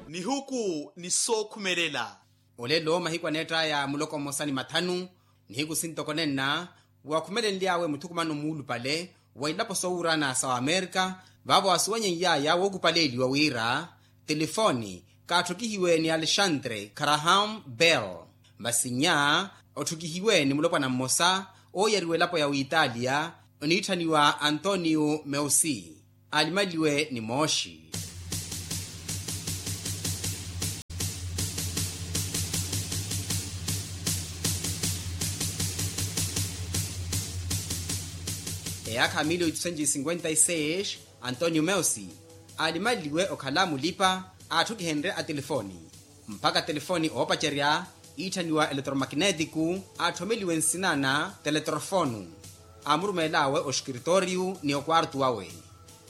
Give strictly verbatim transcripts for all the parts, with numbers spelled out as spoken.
Nihuku ni sookhumelela. Olelo mahiku aneett'aya muloko mmosa ni mathanu, nihiku sintoko nenna, wakhumelenly'awe muthukumano muulupale wa ilapo soowuurana sa wamerika, vaavo asuwenyeiy'aya wookupaleeliwa wira telefoni kaatthukihiwe ni alexandre graham bell. Masi nnya otthukihiwe ni mulopwana mmosa ooyariwa elapo ya witalia oniitthaniwa antonio meusi. Alimaliwe ni mooxi. Eyaakha ya mili oitusenci cinquenta e seis, antonio meusi aalimanliwe okhala mulipa aatthukihenrye a telefoni. Mpakha telefoni oopacerya iitthaniwa eletromagnetiku aatthomeliwe nsina na teletrofonu. Aamurumeel'awe oskiritooriyu ni okwartu wawe.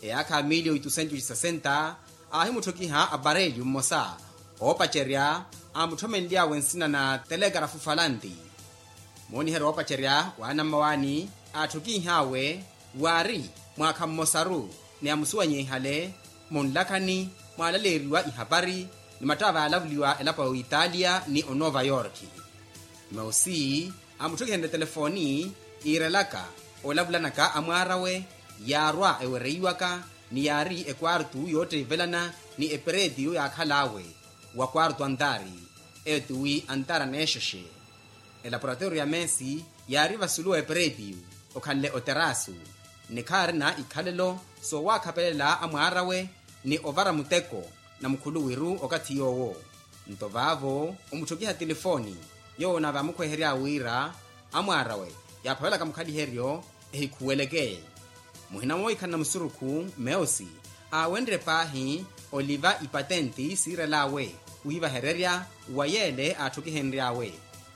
Eyaakha ya mili oitusenci sesenta, aahimutthukiha apareliyu mmosa oopacerya aamutthomeliyawe nsina na telekarafu falanti. Mooniheryo oopacerya waana mmawaani aatthukiih'awe waari mwaakha mmosaru ni amusuwanyeihale munlakhani mwaalaleeriwa ihapari ni mattakha vaalavuliwa elapo ya oitalia ni onova yorki. Meusi amutthukihenrye telefoni iirelaka olavulanaka amwaar'awe yaarwa ewereiwaka ni yaari ekwartu yoottivelana ni eperetiyo yaakhal'awe wa kwartu antaari eyo tiwi antaari aneexexe. Elaporatorio ya meesi yaari vasulu wa eperetiyo okhanle oterasu ni khaarina ikhalelo soowakhapelela amwaar'awe ni ovara muteko na mukhuluwiru okathi yoowo. Nto vaavo omutthukiha telefoni yoowo nave amukhweherya wira amwaar'awe yaaphavelaka mukhaliheryo ehikhuweleke. Muhina mooikhalana musurukhu meusi aawenrye paahi oliva ipatenti siirel'awe wiivahererya wa yeele aatthukihenry'awe.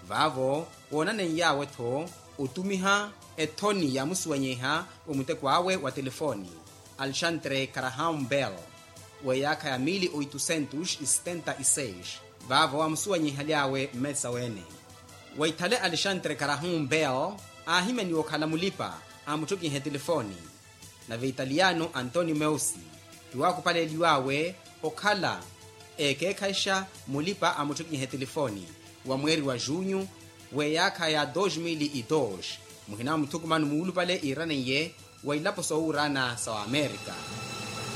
Vaavo woonaneiyawe-tho otumiha ethoni yaamusuwanyeiha wa muteko awe wa telefoni alexandre graham bell. W'eyaakha ya mili oitusentus e setenta e seis vaavo amusuwanyeihaly'awe mmeesa weene. Waithale alexandre graham bell aahimyaniwa okhala mulipa aamuttukihe telefoni. Nave italiyano antonio meusi tiwaakupaleeliw'awe okhala eekeekhayixa mulipa aamuttukihe telefoni wa mweeri wa junyu w'eyaakha ya dos mili e dos. Muhina wa muthukumano muulupale iiraneiye wa ilapo soowuurana sa wamerika.